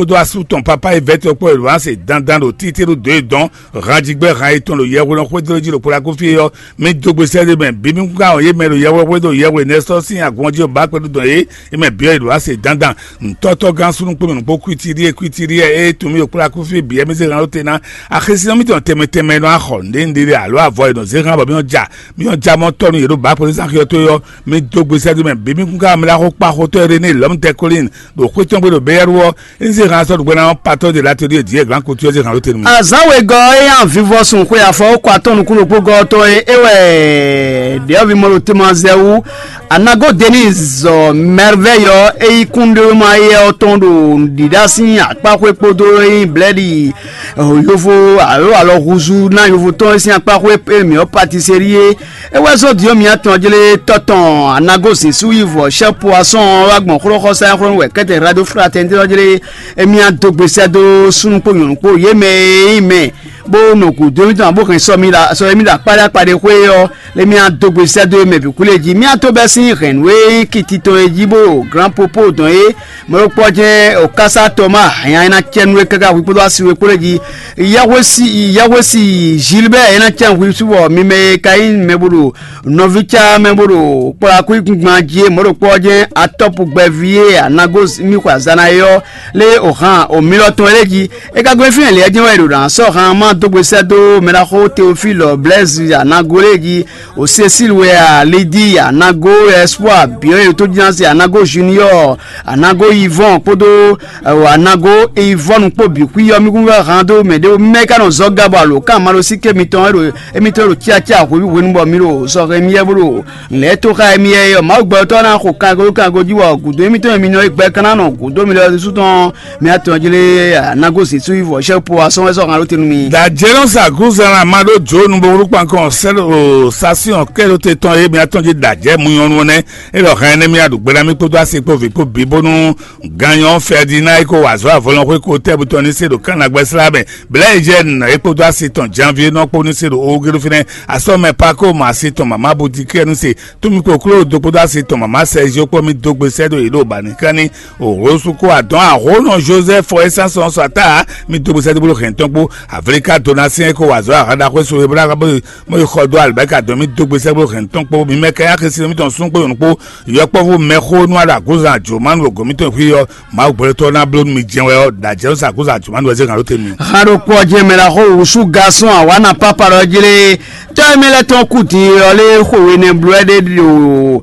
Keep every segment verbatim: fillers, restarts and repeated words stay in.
kpódó asú tɔn papa e vɛ́ tɔn kpó e ɖo ǎ se dandan ɖo títíɖó dǒ e dɔn hanjigbɛ́ han yětɔn ɖo yɛhweɖɔ xwédó jí ɖo Kolakufi ɔ́, mì dó gbe sɛ́ ɖé mɛ bǐ mì kún ká wɔn yě mɛ ɖo yɛhweɖɔ xwédó yɛhweɖɔ nɛ́ sɔ́ sín agun ɔ́ jí ɖo bǎ kpɛɖú dɔn yě, yě mɛ bǐ ɔ́ yě ɖo ǎ se dandan. Ntɔ́tɔ́gán súnnu kpó mɛ nǔgbó kwítíɖíe kwítíɖíe e tunwun mì ɖo Kolakufi bǐ ɛ mì zé han ɖó te ná. Axésinɔ mítɔn tɛnmɛ tɛnmɛ nɔ axɔ nǔɖé nǔɖé alo avɔ e nɔ zé hán bɔ mì nɔ ja mì nɔ ja mɔ tɔ́ nú yě ɖo bǎ kpɛɖú zán xyɔ́tó é ɔ́, mì dó gbe sɛ́ ɖé mɛ bǐ mì kún ká mlá xó kpa xotɔ́ e ɖe n'i lɔ̌mtɛ́ Kolín ɖo xwé tɔn gbe ɖo Beyɛ́ru ɔ́, Ezéhan sɔ́ ɖo gbɛ́ ná ɔ́, patɔ́ de latodí e dǐ e glǎn kutu ɔ́ Ezéhan ɖó te nú mì. Azǎn wegɔ́ ɔ́ e nyi avivɔsun xwe afɔ kɔ atɔn nukúnɖokpógɔ́ ɔ́ tɔn é, é wɛ ɖyɔ̌vimɔɖotemazɛwú Anago Denise zɔ Merveille ɔ́, é yí kúnɖéwéma éyɛ́ ɔ́ tɔn ɖo nǔɖiɖa sín akpáxwé kpódó é nyí blɛ̌ɖi yovo alo alɔhúzú ná yovo tɔn é sín akpáxwé e mǐ ɔ́ patiserí é. É wɛ zɔ́n din ɔ́ mǐ atɔn jlé tɔ́ tɔn Anago zǐn sú yi vɔ chef poisson ɔ́ wá gbɔn xlɔ́xɔsá e xlɔ́ nú wɛ kɛ́tɛn Radio Fraternité ɔ́ jlé émí á dó gbe sɛ́ dó súnnu kpó nyɔ̌nu kpó yě mɛ e nyí mɛ bó nɔ gǔdo émítɔn ǎ bó hɛn sɔ mì ɖo sɔ émí ɖo akpáɖé akpáɖé xwé ɔ́, émí á dó gbe sɛ́ dó mɛ bǐ kú lě jí. Mì á tó bɛ́ sín hɛ̌nnu e nyí kiti tɔn é jí bó Grand Popo dɔn é, mɛ ɖokpó ɔ́ jɛ́n Okasa Tɔma hɛn ɛ ná cɛ nú é káká hwi kpódó asi we kpó lě jí. Yɛhwesi Yɛhwesi Gilbert é ná cɛ hwi sú bɔ mi mɛ e ka nyí mɛ bó ɖo nɔví cá mɛ bó ɖo kplɔ́ akúnyíkúngban jí é, mɔ̌ ɖokpó ɔ́ jɛ́n atɔ́pu gbɛví e Anago mì xwe azǎn ná é ɔ́, lé o han o mi lɔ tɔn é lé jí. É ka gɔ́ fínɛ́ lě ɔ́ jɛ́n wɛ è ɖo ná sɔ́ han má dó gbe sɛ́ dó mɛɖaxó Teofílɔ Blɛ́zi Anago lé jí, o Cécile wɛ a, Lidi Anago, Espoir Biɔ́n e tó jínásí Anago Junior, Anago Yvon kpódó Anago Yvonne kpó bǐ xwí ɔ́, mì kún wɛ han dó mɛ ɖé mɛ ka nɔ zɔ́ ga bɔ alo kan malo sí ké mitɔn e ɖo émítɔn ɖo cíacíá hweví hwenu bɔ mi ɖo sɔxɛ émí yɛ bó ɖo lɛ̌ tó xá émí yɛ é ɔ́, Mawu gbɛtɔ́ ná xo kango kango jí bɔ gǔdo émítɔn e mi nɔ é gbɛ ka ná nɔ gǔdo mi lɔ ɖésú tɔn mɛ atɔn jlé Anago Zezú yi vɔ sɛ́ po asɔn wɛ sɔ́ han ɖó te nú mi. Dajɛnɔ sa gúzan ma ɖó dǒ nu bo wlú kpankɔn sɛ́ ɖo sasiɔn kɛ ɖó te tɔn e mi atɔn jí dajɛ mu nyɔnu nɛ. Elɔ hɛn nɛ mi aɖu gbe na mi kpódó asi kpó vǐ kpó bǐ bónú Ganyɔ Ferdinand e ko wa azɔ̌ avɔlɔnxwé ko tɛ́ butɔn ní se ɖo Kana gbɛ́slá mɛ. Blɛ̌ Eugène e kpódó asi tɔn Janvier nɔ kpó ní se ɖo Ogelu fínɛ́. Asɔ́ mɛ Pako mɔ asi tɔn mama Budikɛ ní se. Tómi kokló do kpódó asi tɔn mama Sɛzio kpó mi dó gbe sɛ́ ɖo yě ɖo Banikánní. Òhósú kó adɔn ahónɔ Joseph Esans sɔn sɔ ata mi dó gbe sɛ́ ɖó hɛn tɔn kpó. Avilika Donatien e ko wa azɔ̌ ahan ɖaxó e so Hebla mɔ yi xɔ dó alibɛka dɔn mi dó gbe sɛ́ ɖó hɛn tɔn kpó. Mi mɛ kɛ́ axisi mi tɔn sún kpó yɔ̌n kpó. Yɔkpɔ́vú mɛxó nú aɖo agúzan jǒmánu ɖo gɔ̌n mitɔn xwí ɔ́, Mawu gbɛtɔ́ ná bló nú mi jɛ́n wɛ ɔ́, ɖo ajɛ̌ sá agúzan jǒmánu wɛ zé hǎn ɖó te mi. Haɖo kpɔ́ jɛ mɛ la xó wǔsú gasɔn awǎna pápá ɖɔ jlé tɔ́ e mɛ lɛ́ tɔn kú din ɔ́ lé xwe we nɛ bló ɛ ɖé ɖo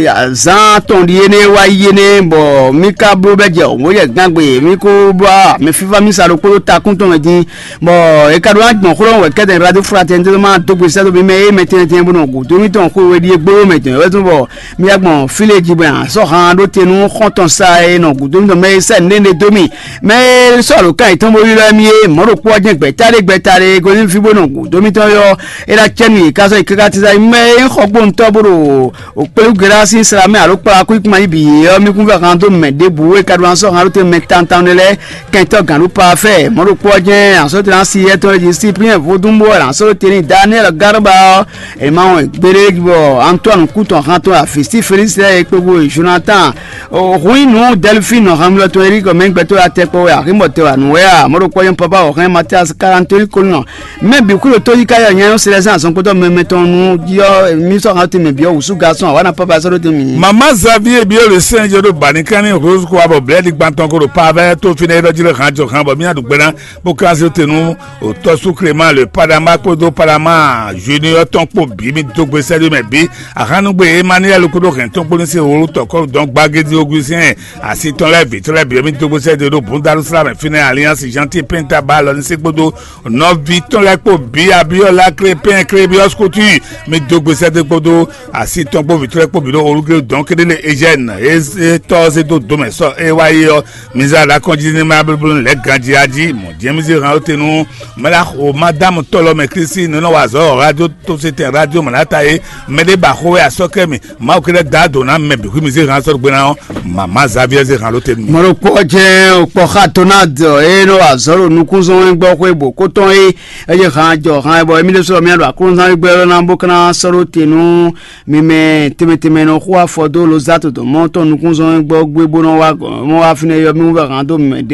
azǎn tɔn ɖi énɛ́ wá yi énɛ́ bɔ mí ka bló bɛ́ jɛ wǒ yɛ gán gbe mí kó bló mɛ fífá mí sa ɖokpó ɖó takún tɔn mɛ din. Bɔ è ka ɖó ná gbɔn xlɔ́ wɛ kɛ́tɛn Radio Fraternité ma dó gbe sɛ́ dó mi mɛ e mɛ tɛnmɛ tɛnmɛ bó nɔ gǔdo mítɔn xwe we ɖíe gbóyó mɛ tɔn wɛ tún bɔ mí wá gbɔn fí lé jí bɔ sɔ́ han ɖó te nú xɔ́ntɔn sa e nɔ gǔdo mítɔn mɛ e sɛ́ nǔɖé dó mì mɛ e sɔ́ ɖo kan yětɔn bó ylɔ́ mì é mɔ̌ ɖokpó ɔ́ jɛ́n gbɛ̌ta ɖé gbɛ̌ta ɖé e gosín fí bó nɔ gǔdo mítɔn ylɔ́ é ná cɛ nú yě ká sɔ́ yi káká tísá mɛ e nyí xɔgbóntɔ́ bó ɖo O kpéwú Geɖá sín sla mɛ alo kplá kú ikuma yi bǐ ɔ́, mì kún vɛ́ han dó mɛ ɖěbǔ e ka ɖó ná sɔ́ han ɖó te mɛ tantɔn ɖé lɛ́ɛ kɛntɔ́ gǎn ɖó pafɛ́ mɔ̌ ɖokpó ɔ́ jɛ́n azɔ̌ te ná si yɛ tɔn e jí Siplíɛn vodún bó wɛ ná sɔ́ ɖó te n'i Daniɛ́li Garba ɔ́, è ma wɔn gbéɖé bɔ Antoine kú tɔn han tɔn Afisti Felísi lɛ́ɛ e kpéwú Jonatán, Huínu Dɛlifín nɔ han mlɔ tɔn Eríkɔ mɛ gbɛtɔ́ ya tɛkpɔ wɛ axǐmɔ tɛ wɛ nǔ wɛ a mɔ̌ ɖokpó ɔ́ jɛ́n Papa wɔ hɛn Matíasi Kalantóli kó nɔ Mɛ bǐ xwé ɖo tóyíká yɛ nyanya ɔ́ se lɛ́ zán azɔn kpódó mɛ mɛtɔn nu jí ɔ́, mì sɔ́ han tɛnmɛ bǐ ɔ́ wǔsú gasɔn awǎ ná pápá sɔ́ ɖó tɛnmɛ. Mama Xavier Biole Saint Jodo Banikanni Rose kó abɔ blɛ̌ɖi gban tɔn ko ɖo Pavɛ tó fínɛ́ élɔ́ jí lé han jɔ han bɔ mì nyi aɖǔgbɛ́ ná bó kan zé te nú òtɔ́sú Clément le Padama kpódó Padama Junior tɔn kpó bǐ mì dó gbe sɛ́ ɖó mɛ bǐ. Ahannugbe Emmanuel kpódó hɛn tɔn kpó ní se wolo tɔkɔ́ dɔn gbagédi Augustin asi tɔn lɛ́ɛ vǐ tɔn lɛ́ɛ bǐ mì dó gbe sɛ́ ɖó Bundalusla mɛ fínɛ́ Alliance Gentil Penta ba alɔ ní se kpódó nɔví tɔn lɛ́ɛ kpó bǐ Abíɔ́lá Klépɛ́n Klébiɔ́s Kútúi, mi dó gbe sɛ́dó kpódó asi tɔn kpó vǐ tɔn lɛ́ɛ kpó bǐ ɖo olúglédɔn kéɖé lé Eugène e tɔ́ ɔ́ zé dó dǒ mɛ sɔ́ é wá yi ɔ́, mi zá ɖo akɔ́njí ní ma blóbló lɛ̌ ganjí á jí mɔ̌ jɛ́n mi zé han ɔ́ te nú mɛ la xo madámu tɔ́ lɔ mɛ Klísi nɔ nɔ wa azɔ̌ radio tó se tɛn radio mɔ̌ ná ta é mɛ ɖé ba xó wɛ asɔ́kɛ mi Mawu kɛ́ɖɛ́ da dǒ ná mɛ bǐ xwí mi zé han sɔ́ gbe ná ɔ́, mama Xavier zé han ló te nú mi. Mɔɖokpɔ́ jɛ́n kpɔ́ xa tó ná dɔ é nɔ wa azɔ̌ ɖo nukúnzɔ́n gbɔ xwé bǒ kótɔn é. Eye han jɔ han bɔ émí ɖésú ɔ́ mía ɖo aklúnɔzán gbɛ́ ɔ́ ná bó ka ná sɔ́ ɖó te nú mi mɛ tɛnmɛ tɛnmɛ nɔ xo afɔ dó Lozato dɔn mɔ̌ tɔn nukúnzɔ́n gbɔ gbé bó nɔ wá gɔ̌n mɔ wá fínɛ́ yɔ mí wú vɛ han dó mi mɛ ɖé